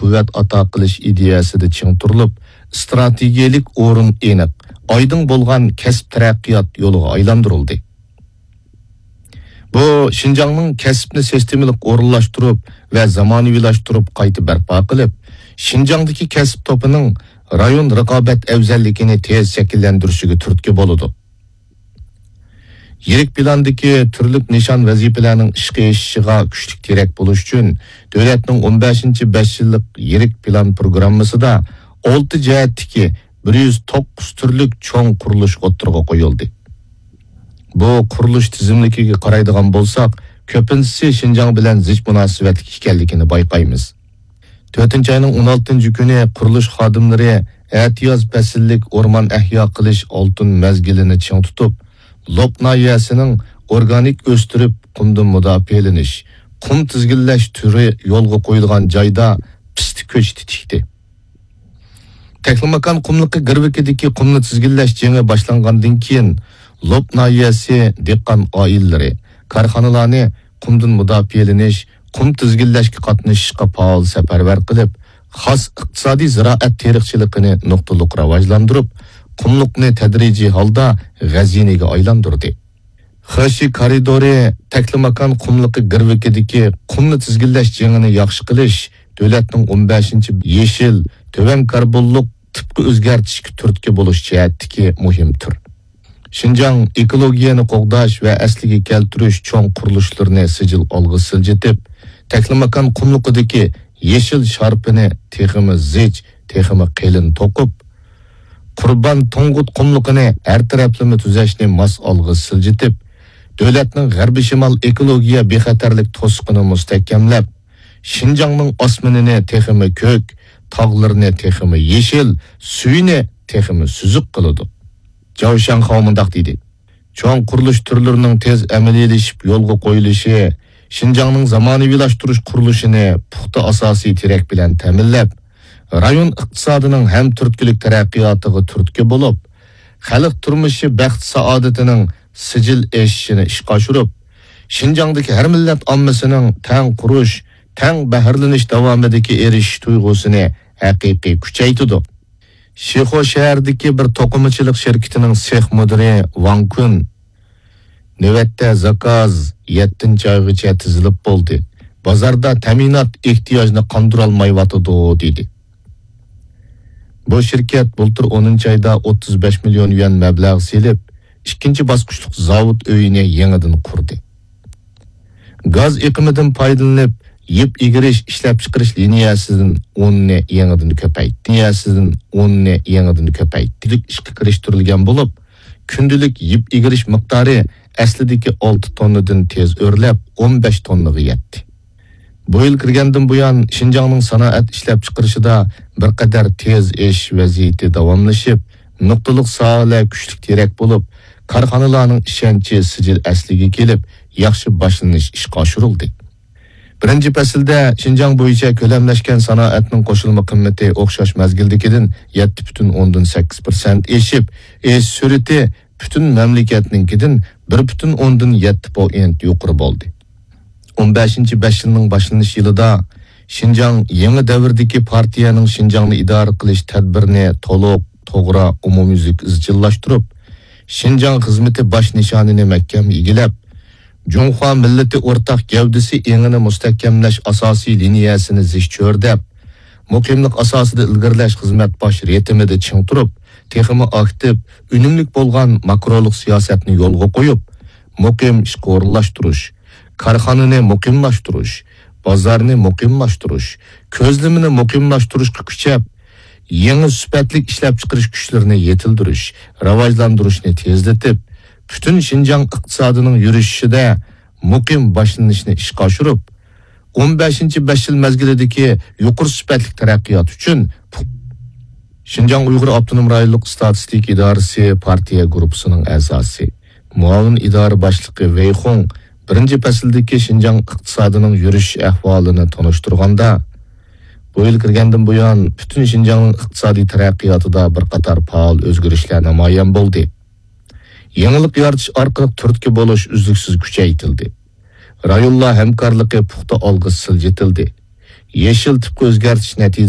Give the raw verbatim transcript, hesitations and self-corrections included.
قۇۋۋەت ئاتا قىلىش ئىدىيەسىدە چىڭ تۇرۇلۇپ، ئىستراتېگىيەلىك ئورۇن ئېنىق، ئايدىڭ بولغان كەسىپ تەرەققىيات يولىغا ئايلاندۇرۇلدى. بۇ شىنجاڭنىڭ كەسىپنى سىستېمىلىق ئورۇنلاشتۇرۇپ ۋە زامانىۋىلاشتۇرۇپ قايتا بەرپا قىلىپ، شىنجاڭدىكى كەسىپ توپىنىڭ رايون رىقابەت ئەۋزەللىكىنى تېز شەكىللەندۈرۈشىگە تۈرتكە بولىدۇ. يىرىك پىلاندىكى تۈرلۈك نىشان ۋەزىپىلەرنىڭ ئىشقا ئېشىشىغا كۈچلۈك تىرەك بولۇش ئۈچۈن، دۆلەتنىڭ ئون بەشىنچى بەش يىللىق يىرىك پىلان پروگراممىسىدا ئالتە جەھەتتىكى بىر يۈز توققۇز تۈرلۈك چوڭ قۇرۇلۇش ئوتتۇرىغا قويۇلدى. بۇ قۇرۇلۇش تىزىملىكىگە قارايدىغان بولساق، كۆپىنچىسى شىنجاڭ بىلەن زىچ مۇناسىۋەتلىك ئىكەنلىكىنى بايقايمىز. تۆتىنچى ئاينىڭ ئون ئالتىنچى كۈنى قۇرۇلۇش خادىملىرى ئەتىياز پەسىللىك ئورمان ئەھيا قىلىش ئالتۇن مەزگىلىنى چىڭ تۇتۇپ، لوپ ناھىيەسىنىڭ ئورگانىك ئۆستۈرۈپ، قۇمدىن مۇداپىئەلىنىش، قۇم تىزگىنلەش تۈرى يولغا قويۇلغان جايدا پىستە كۆچىتى تىكتى. تەكلىماكان قۇملۇقى گىرۋىكىدىكى قۇمنى تىزگىنلەش جېڭى باشلانغاندىن كېيىن، لوپ ناھىيەسى دېھقان ئائىلىلىرى، كارخانىلارنى قۇمدىن مۇداپىئەلىنىش، قۇم تىزگىنلەشكە قاتنىشىشقا پائال سەپەرۋەر قىلىپ، خاس ئىقتىسادىي زىرائەت تېرىقچىلىقىنى نۇقتىلىق راۋاجلاندۇرۇپ، قۇملۇقنى تەدرىجىي ھالدا غەزىنىگە ئايلاندۇردى. خېشى كارىدورى تەكلىماكان قۇملۇقى گىرۋىكىدىكى قۇمنى تىزگىنلەش جېڭىنى ياخشى قىلىش دۆلەتنىڭ ئون بەشىنچى يېشىل، تۆۋەن كاربونلۇق تىپقا ئۆزگەرتىشكە تۈرتكە بولۇش جەھەتتىكى مۇھىم تۈر. شىنجاڭ ئېكولوگىيەنى قوغداش ۋە ئەسلىگە كەلتۈرۈش چوڭ قۇرۇلۇشلىرىنى سىجىل ئالغا سىلجىتىپ، تەكلىماكان قۇملۇقىدىكى يېشىل شارپىنى تېخىمۇ زىچ، تېخىمۇ قېلىن توقۇپ، قۇربان تۇڭگۇت قۇملۇقىنى ھەر تەرەپلىمە تۈزەشنى ماس ئالغا سىلجىتىپ، دۆلەتنىڭ غەربىي شىمال ئېكولوگىيە بىخەتەرلىك توسۇقىنى مۇستەھكەملەپ، شىنجاڭنىڭ ئاسمىنىنى تېخىمۇ كۆك، تاغلىرىنى تېخىمۇ يېشىل، سۈيىنى تېخىمۇ سۈزۈك قىلىدۇ. جاۋ شياڭخاۋ مۇنداق دېدى: چوڭ قۇرۇلۇش تۈرلىرىنىڭ تېز ئەمەلىيلىشىپ يولغا قويۇلۇشى شىنجاڭنىڭ زامانىۋىلاشتۇرۇش قۇرۇلۇشىنى پۇختا ئاساسىي تىرەك بىلەن تەمىنلەپ، رايون ئىقتىسادىنىڭ ھەم تۈرتكىلىك تەرەققىياتىغا تۈرتكە بولۇپ، خەلق تۇرمۇشى بەخت-سائادىتىنىڭ سىجىل ئېشىشىنى ئىشقا ئاشۇرۇپ، شىنجاڭدىكى ھەر مىللەت ئاممىسىنىڭ تەڭ قۇرۇش، تەڭ بەھرىلىنىش داۋامىدىكى ئېرىشىش تۇيغۇسىنى ھەقىقىي كۈچەيتىدۇ. شىخۇ شەھىرىدىكى بىر توقۇمىچىلىق شىركىتىنىڭ سېخ مۇدىرى ۋاڭ كۈن: نۆۋەتتە زاكاز يەتتىنچى ئايغىچە تىزىلىپ بولدى. بازاردا تەمىنات ئېھتىياجنى قاندۇرالمايۋاتىدۇ، دېدى. بۇ شىركەت بۇلتۇر ئونىنچى ئايدا ئوتتۇز بەش مىليون يۈەن مەبلەغ سېلىپ، ئىككىنچى باسقۇچلۇق زاۋۇت ئۆيىنى يېڭىدىن قۇردى. گاز ئېقىمىدىن پايدىلىنىپ، يىپ ئىگىرىش ئىشلەپچىقىرىش لىنىيەسىدىن ئوننى يېڭىدىن كۆپەيتتى. لىنىيەسىدىن ئوننى يېڭىدىن كۆپەيتتى. ئىشقا كىرىشتۈرۈلگەن بولۇپ، كۈندىلىك يىپ ئىگىرىش مىقدارى ئەسلىدىكى ئالتە توننىدىن تېز ئۆرلەپ، ئون بەش توننىغا يەتتى. بۇ يىل كىرگەندىن بۇيان، شىنجاڭنىڭ سانائەت ئىشلەپچىقىرىشىدا بىر قەدەر تېز ئېشىش ۋەزىيىتى داۋاملىشىپ، نۇقتىلىق ساھەلەر كۈچلۈك تىرەك بولۇپ، كارخانىلارنىڭ ئىشەنچى سىجىل ئەسلىگە كېلىپ، ياخشى باشلىنىش ئىشقا ئاشۇرۇلدى. بىرىنچى پەسىلدە شىنجاڭ بويىچە كۆلەملەشكەن سانائەتنىڭ قوشۇلما قىممىتى ئوخشاش مەزگىلدىكىدىن يەتتە پۈتۈن ئوندىن سەككىز پىرسەنت ئېشىپ، ئېشىش سۈرئىتى پۈتۈن مەملىكەتنىڭكىدىن بىر پۈتۈن ئوندىن يەتتە پوئىنت يۇقىرى بولدى. ئون بەشىنچى بەش يىلنىڭ باشلىنىش يىلىدا شىنجاڭ يېڭى دەۋردىكى پارتىيەنىڭ شىنجاڭنى ئىدارە قىلىش تەدبىرىنى تولۇق، توغرا، ئومۇميۈزلۈك ئىزچىللاشتۇرۇپ، شىنجاڭ خىزمىتى باش نىشانىنى مەھكەم ئىگىلەپ، جۇڭخۇا مىللىتى ئورتاق گەۋدىسى ئېڭىنى مۇستەھكەملەش ئاساسىي لىنىيەسىنى زىچ چۆرىدەپ، مۇقىملىق ئاساسىدا ئىلگىرىلەش خىزمەت باش رىتىمىدا چىڭ تۇرۇپ، تېخىمۇ ئاكتىپ، ئۈنۈملۈك بولغان ماكرولۇق سىياسەتنى يولغا قويۇپ، مۇقىم ئىشقا ئورۇنلاشتۇرۇش، كارخانىنى مۇقىملاشتۇرۇش، بازارنى مۇقىملاشتۇرۇش، كۆزلىمىنى مۇقىملاشتۇرۇشقا كۈچەپ، يېڭى سۈپەتلىك ئىشلەپچىقىرىش كۈچلىرىنى يېتىلدۈرۈش، راۋاجلاندۇرۇشنى تېزلىتىپ، پۈتۈن شىنجاڭ ئىقتىسادىنىڭ يۈرۈشۈشىدە مۇقىم باشلىنىشنى ئىشقا ئاشۇرۇپ، ئون بەشىنچى بەش يىل مەزگىلىدىكى يۇقىرى سۈپەتلىك تەرەققىيات ئۈچۈن پۇ-، شىنجاڭ ئۇيغۇر ئاپتونوم رايونلۇق ئىستاتىستىكا ئىدارىسى پارتىيە گۇرۇپپىسىنىڭ ئەزاسى، مۇئاۋىن ئىدارە باشلىقى ۋېي خۇڭ بىرىنچى پەسىلدىكى شىنجاڭ ئىقتىسادىنىڭ يۈرۈشۈش ئەھۋالىنى تونۇشتۇرغاندا، بۇ يىل كىرگەندىن بۇيان، پۈتۈن شىنجاڭنىڭ ئىقتىسادىي تەرەققىياتىدا بىر قاتار پائال ئۆزگىرىشلەر نامايان بولدى. يېڭىلىق يارىتىش ئارقىلىق تۈرتكە بولۇش ئۈزلۈكسىز كۈچەيتىلدى. رايونلار ھەمكارلىقى پۇختا ئالغا سىلجىتىلدى. يېشىل تىپقا ئۆزگەرتىش نەتىجىسىدە